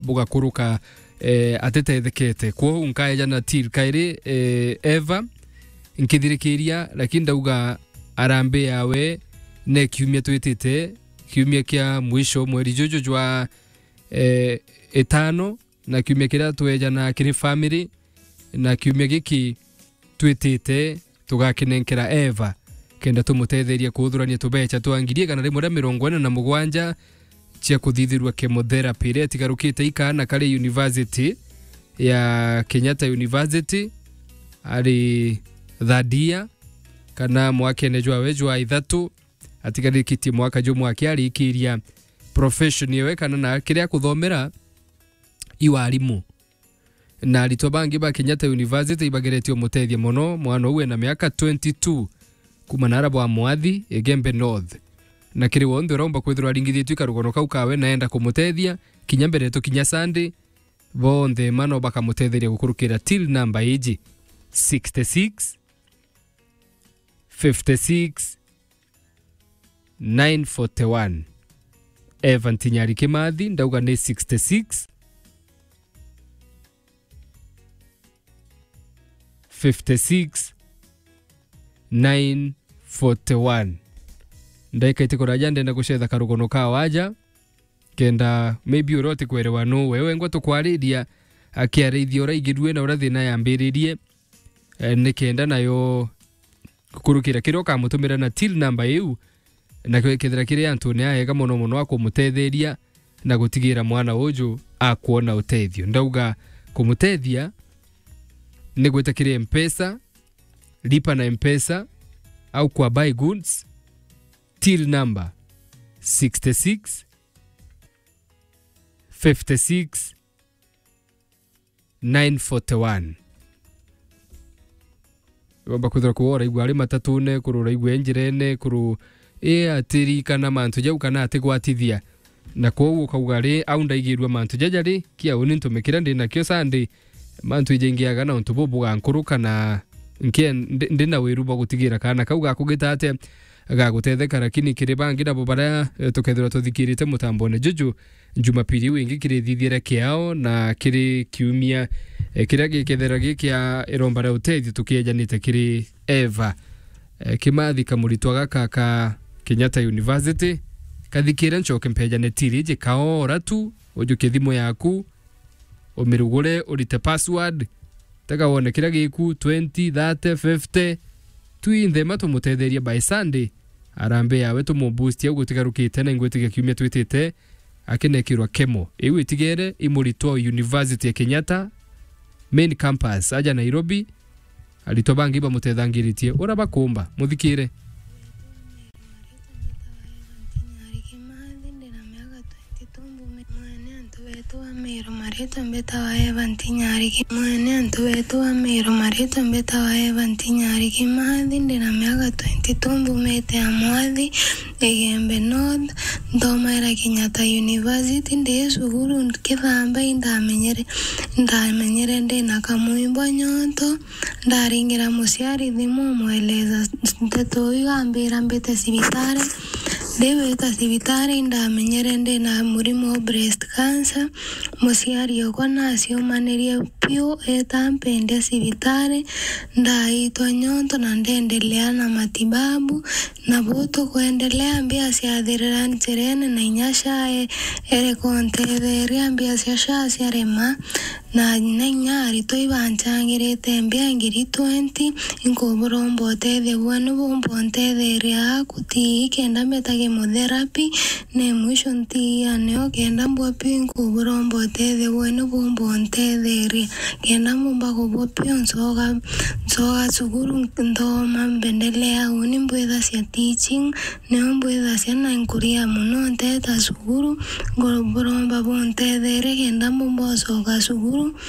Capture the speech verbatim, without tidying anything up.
bugakuruka, eh, atitethekete. Kwou nkaejana till kairi, eh, Eva, nkithirikiria, lakini ndauga harambee yawe ne kiumia twitite, kiumia kia mwisho mweri juju jwa, eh, itano, na kiumia kiria twejana kiri family, na kiumia giki twitite tugakinenkera Eva, kenda tumutetherie kuuthurania tubecha twa ngiri igana rimwe ria mirongo ina na mugwanja cia kuthithirua chemotherapy iria itigarukite ikaana kari university ya Kenyatta University, ari third year, kana mwakene jwawe jwa ithatu, atigarikitie mwaka jumwe akiarikiria profession yewe kana na kiria akuthomera i warimu. Na aritwa bangi ba Kenyatta University ibageretie umutethia mono mwana uu ena miaka twenty-two, kuma nara bwa Mwathi, Igembe North. Na kiri wonthe uromba kwithirwa aringithitue karugono kau kawe na enda kumutethia, kinya mbere tukinya Sunday, bonthe ma no bakamutetheria gukurukira till number iji, sixty-six, fifty-six, nine forty-one. Evan Tinyari Kimathi, ndauga ni sixty-six, fifty-six, nine forty-one. Ndaika itikuraja ndenda gucetha karugono ka waja, kenda maybe uria utikwerewa nu wewe ngwa tukwariria, akiarithia uria igirue na uria thina yambiririe, eh, ni kenda nayo gukurukira kiria ukamutumira na till number iu, na kethira kiri antune aega mono mono akumutetheria na gutigira mwana uju akwona utethio. Ndauga kumutethia ni gwita kiri Mpesa, lipa na Mpesa, au kwa buy goods, till number sixty-six, fifty-six, nine forty-one. Womba kwithirwa kuo uraigua ari matatune, kuru uraigua njirene, kuru i atirikana mantu jau kana atigwatithia. Na kwou ukauga ri, au ndaigirua mantu jaja ri, kia uni ntume kiria ndi nakio Sunday, mantu ijaingiaga na untu bubu bugankuruka na nkie ndi, ndi na wiru bwa gutigira kaana kau gakugita atia gagutetheka, lakini kiri bangi nabo baria, eh, tukethirwa tuthikirite mutambone juju, Jumapili iu ingi kirithithiere kiao na kiri kiumia, eh, kiria gikethira gi kia iromba ria utethio tukiejanite kiri Eva, eh, Kimathi, kamuritwa gaka ka Kenyatta University, kathikire ncoke mpejane tiri iji kaora tu, ujukie thimu yaku, umirugure, urite password, tega wone kiria giku, twenty, thirty, fifty. Twinthe ma tumutetherie by Sunday, arambe yawe tumuboost au gutigarukite na ingwitikia kiumia twitite akinekirwa kemo. Iu itigere i muritwa o University ya Kenyatta, main campus, aja Nairobi, aritwa bangi bamutethangiritie uria bakumba. Muthikire. Mwene antu betu wa Meru, maritwa mbitawa Eva Ntinyariki. Mwene antu betu wa Meru, maritwa mbitawa Eva Ntinyariki. Mathi, ndina miaka twenty-two, mbumite Amwathi, Igembe North, nthomaira Kenyatta University, ndi cukuru nkithamba, indamenyere, ndamenyere ndina kamwimbo nyonto, ndaringira muciari thimu, mweleza nteto iu, ambira mbite cibitari. Ndiwita cibitari, indamenyere ndina murimo wa breast cancer. Muciari okwa naciumanirie piu, eta mpendia cibitari, ndaitwa nyonto na ndendelea na matibabu. Nabo tukwendelea, mbia ciathirira njirene na inya sha e-, ere kuntetheria, mbia cia sha ciarema. Na, na inya aritwa ibanchangirite mbia ngiri twenty, inkuburomba utethio bwenu bumba untetheria aku ti kenda mbeta chemotherapy, ni mwisho ntiia nio kenda mbua piu, inkuburomba utethio bwenu bumba untetheria, kenda mbumba kubua piu, ncoga, ncoga cukuru nthoma, mbendelea uni mbwithacia teaching, nio mbwithacia na nkuria mono nteta cukuru, nkuburomba buntetherie kenda mbumba ucoka cukuru,